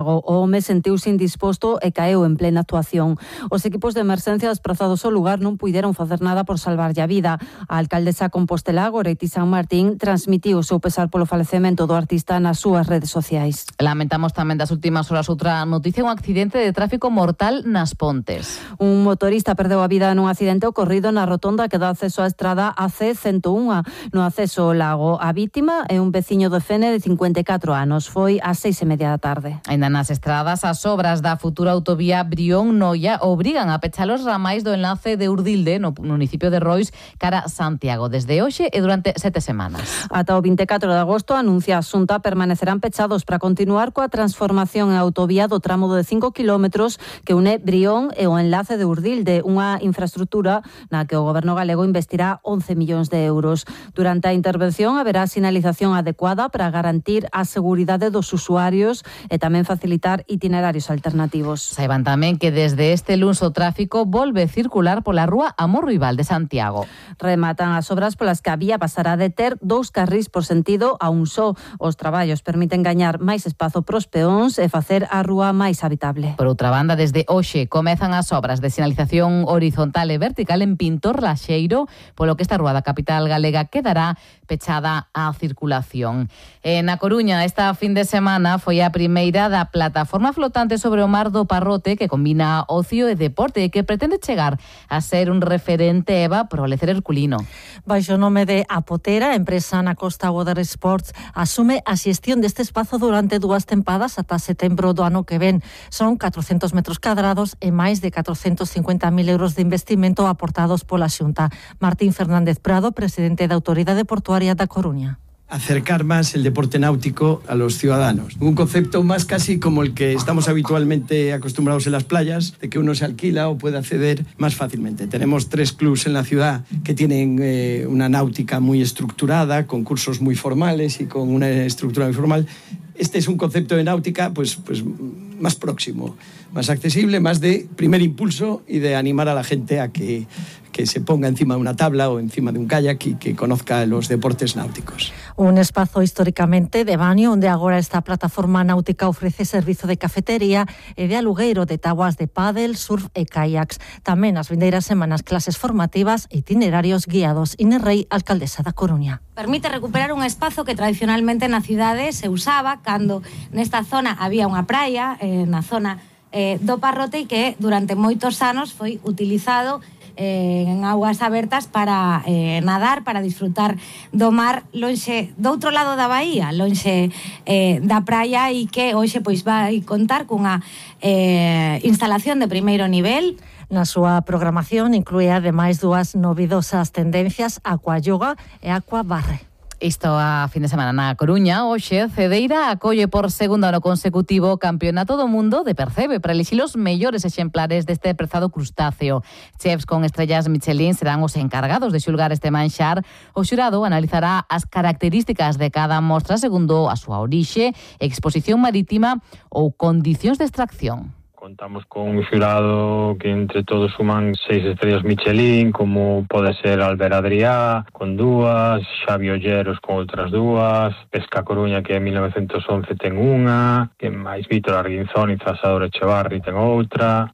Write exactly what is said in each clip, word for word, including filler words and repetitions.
O home sentiuse indisposto e caeu en plena actuación. Os equipos de emerxencia desprazados ao lugar non puideron facer nada por salvarlle a vida. A alcaldesa compostelá, Goretti San Martín, transmitiu o seu pesar polo falecemento do artista nas súas redes sociais. Lamentamos tamén das últimas horas outra noticia, un accidente de tráfico mortal nas Pontes. Un motorista perdeu a vida nun accidente ocorrido na rotonda que dá acceso á estrada A C ciento un no acceso ao lago. A vítima é un veciño de Fene de cincuenta e catro anos. Foi ás seis e media da tarde. Ainda nas estradas, as obras da futura autovía Brión-Noia obrigan a pechar os ramais do enlace de Urdilde no municipio de Rois cara Santiago desde hoxe e durante sete semanas. Ata o vinte e catro de agosto, anuncia a Xunta, permanecerán pechados para continuar coa transformación en autovía do tramo de cinco kilómetros que une Brión e o enlace de Urdilde, unha infraestructura na que o goberno galego investirá once millóns de euros. Durante a intervención haberá sinalización adecuada para garantir a seguridade dos usuarios e tamén facilitar itinerarios alternativos. Saiban tamén que desde este luns o tráfico volve circular pola rúa Amor Rival de Santiago. Rematan as obras polas que a vía pasará de ter dous carrís por sentido a un só. Os traballos permiten gañar máis espazo pros peóns e facer a rúa máis habitable. Por outra banda, desde hoxe comezan as obras de sinalización horizontal e vertical en Pintor Laxeiro, polo que esta rúa da capital galega quedará pechada á circulación. E na Coruña, esta fin de semana foi a primeira da plataforma flotante sobre o mar do Parrote que combina ocio e deporte e que pretende chegar a ser un referente, Eva, pro lecer herculino. Baixo o nome de Apotera, a empresa na Costa Water Sports asume a xestión deste espazo durante dúas tempadas ata setembro do ano que ven. Son catrocentos metros cadrados e máis de catrocentos cincuenta mil euros de investimento aportados pola Xunta. Martín Fernández Prado, presidente da Autoridade Portuaria da Coruña. Acercar más el deporte náutico a los ciudadanos. Un concepto más casi como el que estamos habitualmente acostumbrados en las playas, de que uno se alquila o puede acceder más fácilmente. Tenemos tres clubs en la ciudad que tienen eh, una náutica muy estructurada, con cursos muy formales y con una estructura muy formal. Este es un concepto de náutica pues, pues más próximo, más accesible, más de primer impulso y de animar a la gente a que, que se ponga encima de una tabla o encima de un kayak y que conozca los deportes náuticos. Un espazo históricamente de baño onde agora esta plataforma náutica ofrece servizo de cafetería e de alugueiro de tabuas de pádel, surf e kayaks. Tamén as vindeiras semanas clases formativas e itinerarios guiados. Inés Rey, alcaldesa da Coruña. Permite recuperar un espazo que tradicionalmente na cidade se usaba cando nesta zona había unha praia, eh, na zona eh, do Parrote, e que durante moitos anos foi utilizado eh, en augas abertas para eh, nadar, para disfrutar do mar lonxe do outro lado da baía, lonxe eh, da praia, e que hoxe pois vai contar cunha eh, instalación de primeiro nivel. Na súa programación inclúe ademais dúas novidosas tendencias, aqua yoga e aqua barre. Isto a fin de semana na Coruña. Hoxe, Cedeira acolle por segundo ano consecutivo o Campeonato do Mundo de Percebe para elixir os mellores exemplares deste prezado crustáceo. Chefs con estrellas Michelin serán os encargados de xulgar este manxar. O xurado analizará as características de cada mostra segundo a súa orixe, exposición marítima ou condicións de extracción. Contamos con un xurado que entre todos suman seis estrellas Michelin, como pode ser Albert Adrià, con dúas, Xavi Olleros con outras dúas, Pesca Coruña, que en mil novecentos once ten unha, que máis Vítor Arguinzón e Zasador Echevarri ten outra.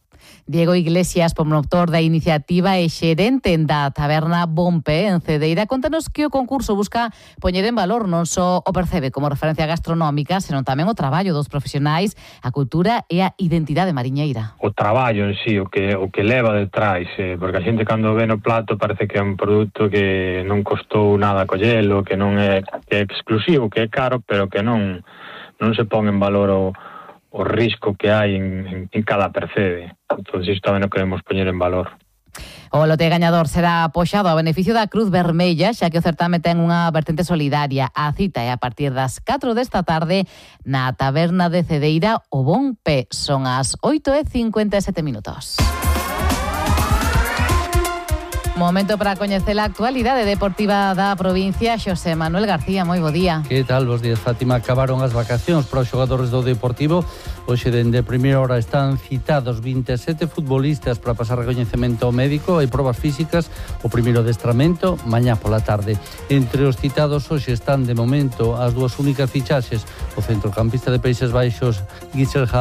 Diego Iglesias, promotor da iniciativa e xerente da taberna Bompe en Cedeira, contanos que o concurso busca poñer en valor non só o Percebe como referencia gastronómica, senón tamén o traballo dos profesionais, a cultura e a identidade mariñeira. O traballo en sí, o que o que leva detrás, eh, porque a xente cando ve no plato parece que é un produto que non costou nada collelo, que non é, que é exclusivo, que é caro, pero que non non se pon en valor o o risco que hai en, en, en cada percebe. Entón, isto tamén o queremos poñer en valor. O lote gañador será apoxado a beneficio da Cruz Vermella, xa que o certame ten unha vertente solidaria. A cita é a partir das catro desta tarde na taberna de Cedeira, o Bon Pé. Son as oito e cincuenta e sete minutos. Momento para coñecer a actualidade deportiva da provincia. Xosé Manuel García, moi bo día. Que tal? Bos días, Fátima. Acabaron as vacacións para os xogadores do Deportivo. Hoxe, dende primeira hora, están citados vinte e sete futbolistas para pasar recoñecemento médico e probas físicas. O primeiro adestramento, mañá pola tarde. Entre os citados hoxe están, de momento, as dúas únicas fichaxes. O centrocampista de Países Baixos, Guichel